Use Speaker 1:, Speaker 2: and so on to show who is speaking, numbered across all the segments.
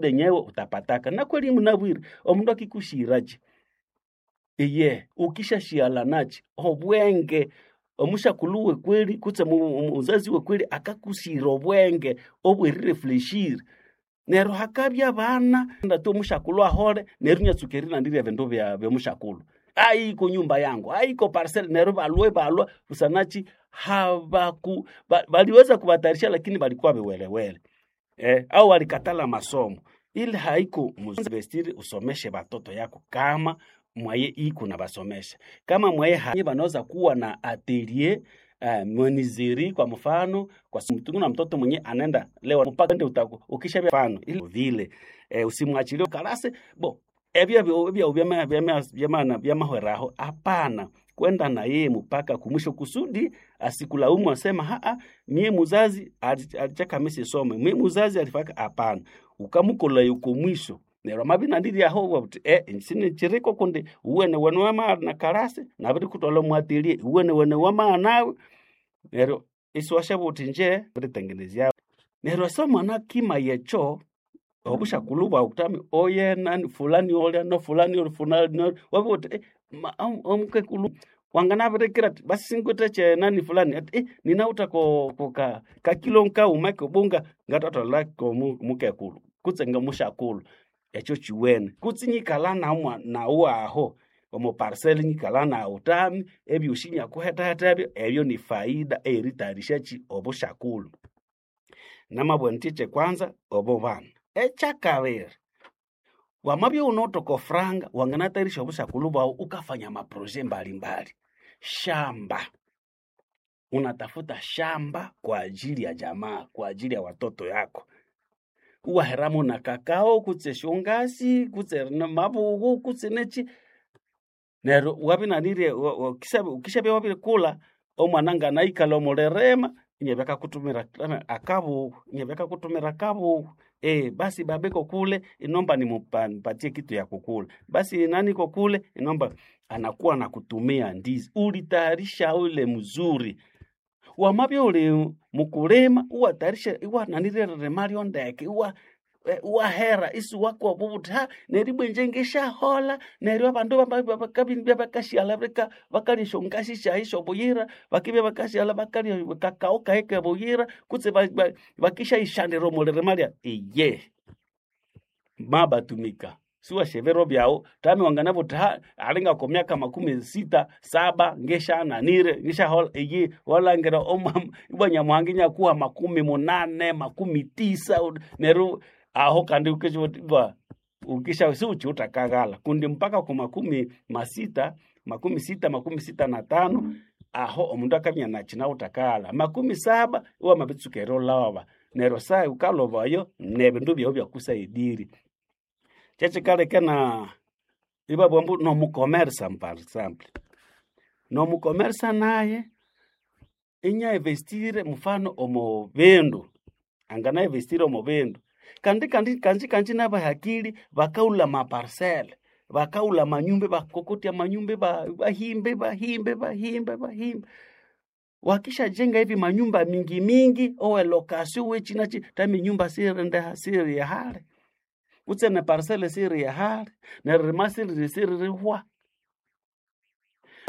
Speaker 1: Enyewe utapataka na kweli munabwire omundu akikushirachi iye ukishashiala nachi obwenge omushakulu wekweli kutse muzazi wekweli akakushira obwenge obwerirefleshire neryo hakabya abana ndatu omushakulu ahole neryo inyatsuka erinandirya ebindu bya byomushakulu aiko nyumba yangu aiko parcel neryo balwe balwa busanachi habaku baliweza kubatayarisha lakini balikuwa biwelewele au walikatala masomo ili haiko muvestiri usomeshe batoto yako kama mwaye iko na basomesha kama mwaye hai banaweza kuwa na atelier monizeri kwa mfano kwa mtungu na mtoto mwenye anaenda leo mpaka ndio utaku ukisha mfano ili vile usimwachilie karase bo ebyo ebyo byama byama byama byamahweraho hapana kwenda na yeye mpaka kumwisho kusudi asikulaumu asema haa mie muzazi alichaka misisome mie muzazi alifaka hapana ukamukola yuko mwisho neryo amabinandiri aho wabuti sine chiriko kundi uwene wene wama na karase nabiri kutwala mwatilie uwene wene wama nawe neryo isiwashabuti uti nje biritengenezya neryo asa mwana kima yecho obushakulu bwawu kutami oye nani fulani olya no fulani oli fulani oli wabuti omukekulu wanganabirikira ati basi singwithe che nani fulani ati ninawutha ko ko ka kakilo nkauma kobunga ngatatwala ko mukekulu kutse ngamushakulu ekyo kiwene kutse nyikala namwa nawu aho omu parcel nyikala nawu tami ebyosi nyakuhetaheta ebyo ebyo ni faida eritayarisha obushakulu namabwa nthi kyekwanza obo bana ekyakabiri wamabya iwunawithe franga wanganatayarisha obushakulu bwawu ukafanya maproje mbalimbali shamba unatafuta shamba kwa ajili ya jamaa kwa ajili ya watoto yako uwaheramu na kakao kutse shongasi kutse mabughu kutse nechi neryo wabinanirye ukishabya wabirikula omwana nganaikalha omulirima inyabya akakutumira akabughu inyabya akakutumira akabughu basi baba iko kule inomba nimupatie kitu ya kukula basi nani iko kule inomba anakuwa nakutumia ndizi ulitayarisha ule mzuri wamabya uli mukulima iwatayarisha iwananirye eririma lyondeke iwa iwahera isiwakoba ubuthi ha neryo ibwa inje ngisyaholha neryo abandu bakabya bakashyalha bakalya esyongasi syayi syobuyira bakibya bakashyalha bakalya kakao kayi kebuyira kutse bakisyayisyandira omulirima lya iye mabatumika siwasya ebiro byawu tami wanganabugha uthi ha alinga kwa myaka 67 ngisyananire ngisyaholha iye walhangira ibwa nyamuhanga inyakuha 80 90 neryo aho kandi ibwa ukisha siwukiwuthakaghalha kundi mpaka ku 60 60 65 aho omundu akabya inakinawuthakaghalha 70 iwamabitsuka erilhoba neryo saha wukalhobayo nebindu byawu byakusaidire kyekikaleka na ibabugha ambu nomukomersa par example nomukomersa naye inya investire mfano omu bindu angana investire omu bindu kandi kandi kanji kanji nabahakili bakaghulha amaparcel bakaghulha amanyumba ibakokotya amanyumba bahimba bahimba bahimba bahimba wakishajenga hivi manyumba mingi mingi owe lokasio wechi nachi tami nyumba sirindeha siri hali kutse ne parcel siri hali neririma siriri siririhwa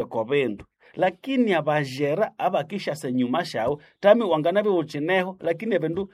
Speaker 1: ko bindu lakini abajera abakishasa enyuma syawu tami wanganabya iwukineho lakini ebindu